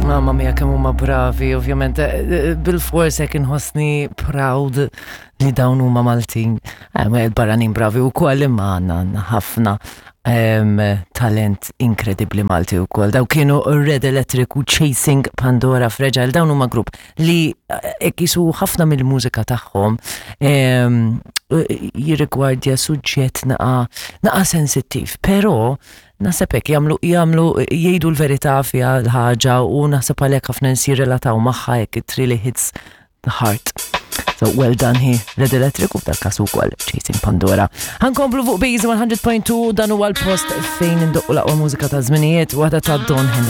Mamma mia kemm huma bravi, ovvjament eh, eh, bil-fors hekk inħossni proud li dawn huma Maltin. Eh, barranin bravi wkoll imma għandna għandna ħafna ehm, talent inkredibbli Malti wkoll. Daw kienu Red Electric u Chasing Pandora Fragile, dawn huma grupp li hekk jisu ħafna mill-mużika tagħhom ehm, jirrigwardja suġġett naqa naqa sensittiv, però Naħseb hekk jagħmlu jagħmlu jgħidu l-verità fiha l-ħaġa u naħseb għalhekk ħafna nies jirrelataw magħha hekk it really hits the heart. So well done hi Red Electric u f'dal każ ukoll Chasing Pandora. Ħankomplu fuq Bees 100.2 dan huwa l-post fejn indoqqu l-aqwa mużika ta' żminijiet waħda ta' Don Henley.